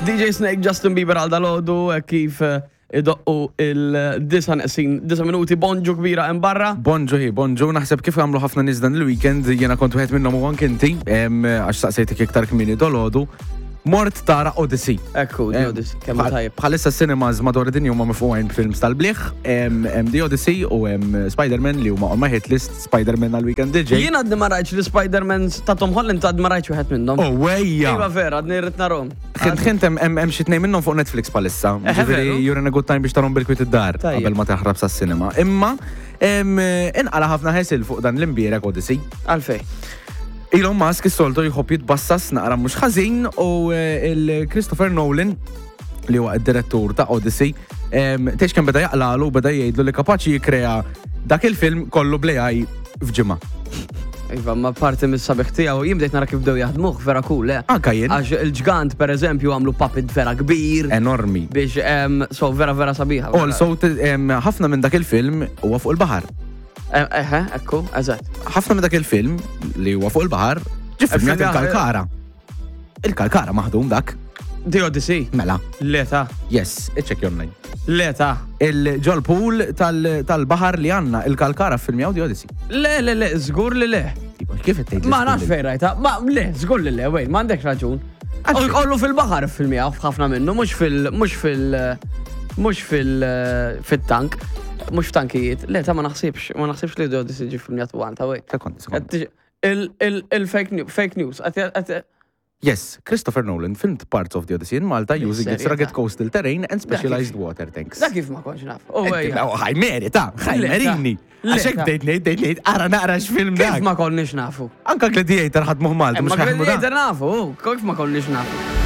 DJ Snake, Justin Bieber għal dalodu, eh, kif eh, idoqqu il-disa neqsin, disa minuti, bonġu kbira hemm barra. Bonġu hi, bonġu, naħseb kif għamlu ħafna nies dan il-weekend, jiena kont wieħed minnhom u anke inti, għax saqsejtek iktar kmieni dolodu. Mort tara Odyssey. Ekku, The Odyssey, kemm tajjeb. Bħalissa cinemas madwar id-dinja huma mifqugħin b'films tal-bliħ, hemm The Odyssey u hemm Spider-Man li huma on my hit list, Spider-Man għal-weekend DJ. Jien għadni ma rajtx li Spider-Man ta' Tom Holland għadni ma rajtx wieħed minnhom. Oh, wejja! Iva vera, għadni rrid narhom. Ħint ħint hemm xi tnejn minnhom fuq Netflix bħalissa. Ġifieri you're in a good time biex tarhom bil-kwiet id-dar qabel ma taħrab sas-cinema. Imma inqala ħafna ħesil fuq dan l-imbierek Odyssey. Għalfej. Elon Musk is-soltu jħobb jitbassas naqra mhux ħażin u eh, il-Christopher Nolan li huwa id-direttur ta' Odyssey, tgħix kemm beda jaqlalu beda jgħidlu li kapaċi jikkrea dak il-film kollu bl-AI f'ġimgħa. Iva, ma parti mis-sabiħ tiegħu jien bdejt nara kif bdew jaħdmuh vera cool, eh. Anka jien. Għax il-ġgant pereżempju għamlu puppet vera kbir. Enormi. Biex so vera vera sabiħa. Also, ħafna minn dak il-film huwa fuq il-baħar. Eħe, ekku, eżatt. Ħafna minn dak il-film li huwa fuq il-baħar, ġie filmjat il-Kalkara. Il-Kalkara maħdum dak. The Odyssey? Mela. Le ta. Yes, iċċekkja online. Le ta. Il-ġol pool tal-baħar li għandna, il-Kalkara filmjaw The Odyssey. Le, le, le, żgur li le. Kif qed tgħid? Ma nafx fejn rajta, ma le, żgur li le, wejn, m'għandekx raġun. Kollu fil-baħar filmjaw ħafna minnu, mhux fil mhux fil mhux fil fit-tank, mhux f'tankijiet. Le, ta' ma naħsibx, ma naħsibx li The Odyssey ġie filmjat u għanta, wejn. Sekonda, sekonda. Il-fake news, Yes, Christopher Nolan filmed parts of the Odyssey in Malta using its rugged coastal terrain and specialized water tanks. Da kif ma kontx naf. Ħaj meri ta, ħaj merini. Għaxek bdejt ngħid, bdejt ngħid, ara naqra x'film dak. Kif ma konniex nafu? Anka Gladiator ħadmuh Malta, mhux Gladiator nafu, kif ma konniex nafu.